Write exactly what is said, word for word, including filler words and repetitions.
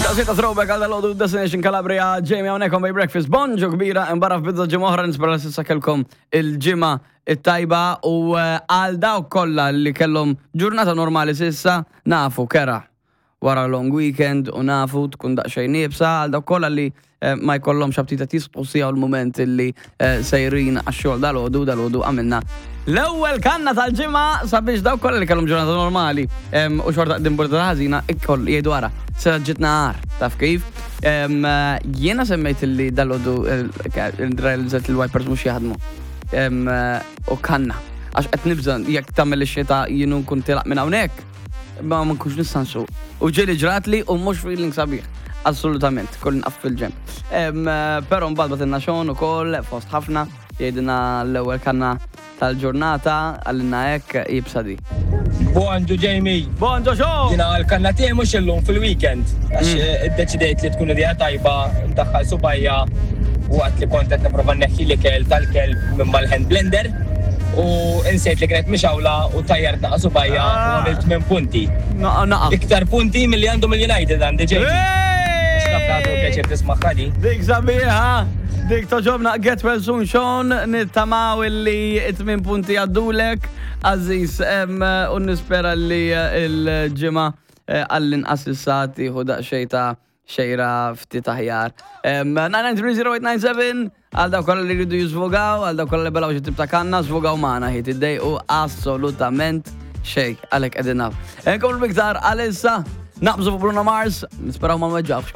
Daqsxejn ta' throwback għal dal-għodu, Destination Calabria, Jamie hawnhekk on Bay Breakfast. Bonġu kbira, imbarra f'bidu ġimgħa oħra, nispera s'issa kellkom il-ġimgħa it-tajba u eh, għal dawk kollha li kellhom ġurnata normali s'issa, nafu kera wara long weekend u nafu tkun daqsxejn iebsa. Għal dawk kollha li eh, ma jkollhomx aptit jisqu sija u l-moment li eh, sejrin għax-xogħol dal-għodu, dal-għodu għamilna l-ewwel kanna tal-ġimgħa sabiex dawk kollha li kellhom ġurnata normali em, u xorta qegħdin burda ħażina ikkoll jgħidu, "Ara, se ġitna għar," taf kif. Em, eh, Jiena semmejt li dal-għodu realizzat il-wipers mhux jaħdmu. Em, eh, U kanna. Għax qed nibża' jekk tagħmel ix-xita jien nkun tilaq minn hawnhekk ma ma nkunx nista' nsuq. U ġieli ġratli u mhux feeling sabiħ. Assolutament, kull nqaf fil-ġenb. Em, eh, Però mbagħad bagħtilna Sean ukoll fost ħafna jgħidilna l-ewwel kanna tal-ġurnata, għalina hekk jibsa di. Bonġu Jamie. Bonġu Sean! Jiena għal-kanna tiegħi mhux illum, fil-weekend. Għax iddeċidejt li tkun idea tajba ndaħħal subgħajja waqt li kont qed nipprova nneħħi l-ikel tal-kelb minn mal-hand blender u insejt li kienet mixgħula u tajjart naqa subgħajja u għamilt minn punti. Naqa naqa. Iktar punti milli għandhom il-United għandi, Jamie. Naf għadu pjaċir tisma' di. Dik sabiħa, dik togħġobna. Get well soon, Sean, nittamaw illi it-tmin punti għaddulek, Aziz, em, u nispera li eh, il-ġimgħa eh, għall-inqas issa tieħu daqsxejn ta' xejra ftit aħjar. nine nine three zero eight nine seven għal dawk kollha li jridu jiżvogaw, għal dawk kollha li belgħu xi tip ta' kanna, żvogaw magħna, ħi tiddejqu assolutament xejn, għalhekk qegħdin naf. Nkomplu biktar għalissa, naqbżu fuq Bruno Mars, nisperaw ma nweġġawx.